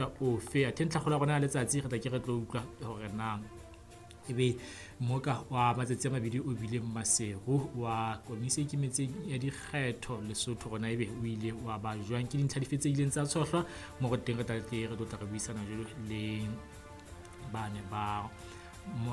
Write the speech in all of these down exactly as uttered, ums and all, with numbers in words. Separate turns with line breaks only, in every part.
Ofe athe ntlhakgolo ya rona ya letsatsi re tla ke re tlo utlwa hore na ebe mmoka wa matsatsi a mabedi o bile Maseru wa komisi e ikemetseng ya dikgetho Lesotho rona ebe o ile wa ba jwang, ke dintlha dife tse ileng tsa tshohlwa mo re teng re tla tle re tlo tla re buisana jwalo le bane ba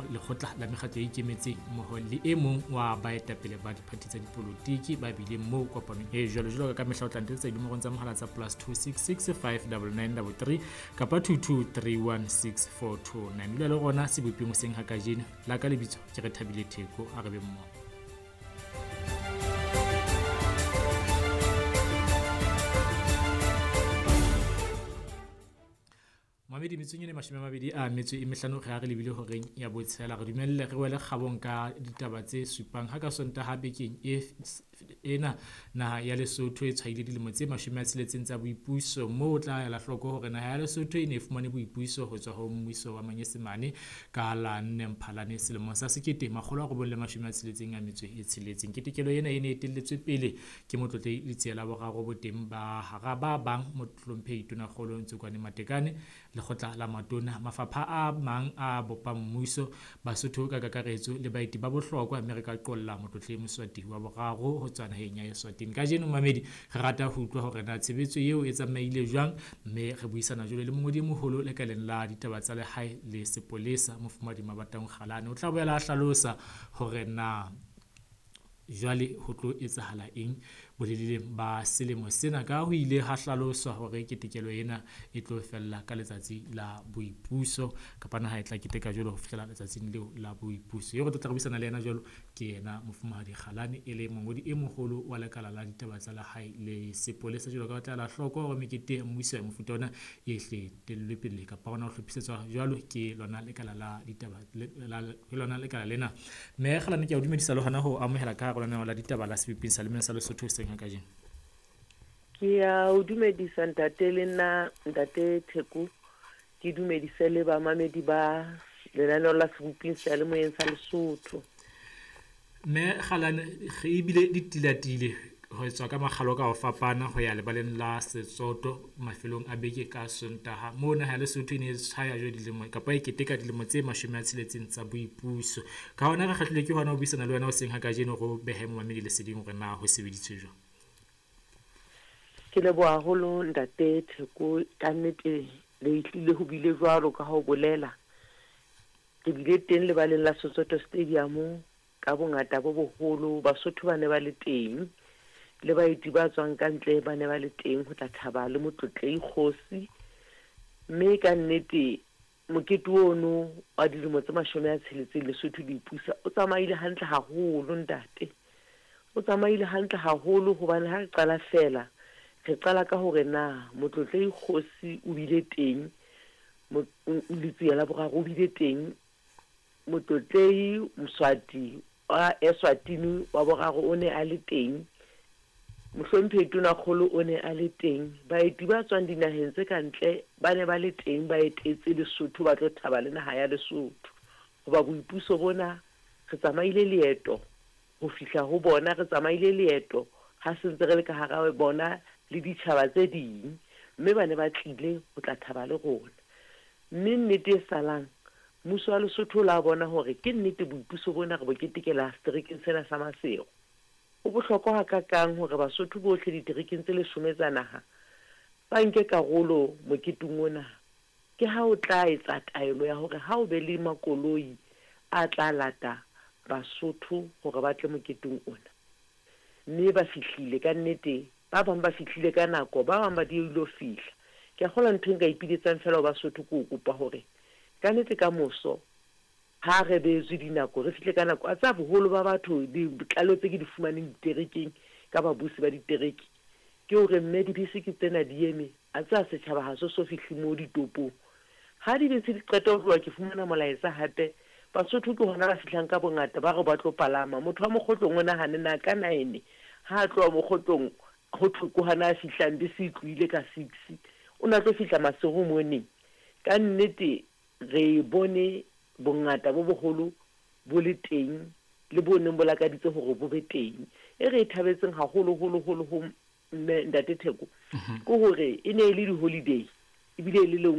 lekgotla la mekgatlo e ikemetseng mmoho le e mong wa baetapele ba diphathi tsa dipolotiki ba bileng moo kopanong e jwalo. Jwalo ka mehla o tla ntetsa dinomorong tsa mohala tsa plus two six six five double nine double three kapa two two three one six four two nine. Dula le rona seboping hoseng ha kajeno. La ka lebitso ke re Thabile Theko, a re be mmoho. Mamedi metsong ene mashome a mabedi a metso e mehlano re ha re lebile horeng ya botshela, re dumelle re wele kgabong ka ditaba tse supang. Ha ka Sontaha bekeng e ena naha ya Lesotho e tshwaile dilemo tse mashome a tsheletseng tsa boipuso, moo o tla ela hloko hore naha ya Lesotho e ne e fumane boipuso ho tswa ho mmuso wa Manyesemane ka la nne Mphalane selemong sa sekete makgolo a robong le mashome a tsheletseng a metso e tsheletseng. Ketekelo ena e ne e etelletswe pele ke Motlotlehi Letsie la Boraro boteng ba hara ba bang Mohlomphehi Tonakgolo Ntsokoane Matekane, lekgotla la matona, mafapha a mang a bopang mmuso, Basotho ka kakaretso le baeti ba bohlokwa, mme re ka qolla Motlotlehi Moswati wa Boraro ho tswa naheng ya Eswatini. Kajeno mamedi re rata ho utlwa hore na tshebetso eo e tsamaile jwang, mme re buisana jwalo le mongodi e moholo lekaleng la ditaba tsa lehae le sepolesa Mofumahadi Mabataung Kgalane. O tla boela a hlalosa hore na jwale ho tlo etsahala eng boleleleng ba selemo sena, ka ho ile ha hlaloswa hore ketekelo ena e tlo fella ka letsatsi la boipuso kapa naha e tla keteka jwalo ho fihlela letsatsing leo la boipuso. Eo re tlo tla re buisana le yena jwalo ke yena Mofumahadi Kgalane, e le mongodi e moholo wa lekala la ditaba tsa lehae le sepolesa. Jwalo ka ho tla ela hloko hore mekete ya mmuso ya mofuta ona e hle tellwe pele kapa hona ho hlophisetswa jwalo ke lona lekala la ditaba ke lona lekala lena. Mme Kgalane, ke a o dumedisa le hona ho amohela ka hare lenaneo la ditaba la Seboping sa Lemeng sa Lesotho hoseng ha kajeno.
Ke a o dumedisa ntate le nna ntate Theko, ke dumedise le bamamedi ba lenaneo la Seboping sa Lemoyeng sa Lesotho.
Mme Kgalane, re ebile ditilatile ho tswa ka makgalo ka ho fapana ho ya lebaleng la Setsoto mafelong a beke ka Sontaha, moo naha ya Lesotho e ne e tshwaya jwale dilemo kapa e keteka dilemo tse mashome a tsheletseng tsa boipuso. Ka hona re kgahlilwe ke hona ho buisana le wena hoseng ha kajeno, re o behe momamedi leseding hore na ho sebeditswe jwang.
Ke leboha haholo ntate Theko, ka nnete le tlile ho bile jwalo ka ho bolela. Re bile teng lebaleng la Setsoto Stadium ka bongata bo boholo, Basotho ba ne ba le teng le baeti ba tswang ka ntle ba ne ba le teng ho tla thaba le Motlotlehi Kgosi. Mme ka nnete mokete ono wa dilemo tse mashome a tsheletseng Lesotho le ipusa o tsamaile hantle haholo ntate, o tsamaile hantle haholo hobane ha re qala fela re qala ka hore na Motlotlehi Kgosi o bile teng, Letsie la Boraro o bile teng, Motlotlehi Moswati wa Eswatini wa Boraro o ne a le teng, Mohlomphehi Tonakgolo o ne a le teng, baeti ba tswang dinaheng tse ka ntle ba ne ba le teng, ba etetse Lesotho ba tlo thaba le naha ya Lesotho. Hoba boipuso bona re tsamaile leeto ho fihla ho bona, re tsamaile leeto ha se ntse re le ka hara bona le ditjhaba tse ding, mme ba ne ba tlile ho tla thaba le rona. Mme nnete e salang, mmuso wa Lesotho o la bona hore ke nnete boipuso bona re bo ketekela seterekeng sena sa Maseru. Ho bohlokwa hakakang hore Basotho bohle diterekeng tse leshome tsa naha ba nke karolo moketeng ona. Ke ha o tla etsa taelo ya hore ha o be le makoloi a tla lata Basotho hore ba tle moketeng ona. Mme ba fihlile ka nnete, ba bang ba fihlile ka nako, ba bang ba diehile ho fihla. Ke a kgolwa ntho e nka ipiletsang fela ho Basotho ke ho kopa hore ka nnete ka moso ha re beetswe dinako re fihle ka nako. A tsa boholo ba batho ditlaleho tse ke di fumaneng diterekeng ka babusi ba ditereke ke hore mme dibese ke tsena di eme, a tsa setjhaba ha se so fihle moo ditopong. Ha dibese di qeta ho tloha ke fumana molaetsa hape Basotho ke hona ba fihlang ka bongata ba re ba tlo palama. Motho wa mokgotlong o nahane na ka nine ha a tloha mokgotlong ho thwe ke hona a fihlang bese e tlohile ka six, o na tlo fihla Maseru moneng. Ka nnete re bone bongata bo boholo bo le teng le bo neng bo lakaditse hore bo be teng. E re e thabetseng haholo holo holo ho mme ntate Theko ke hore e ne e le di-holiday ebile e le lengwe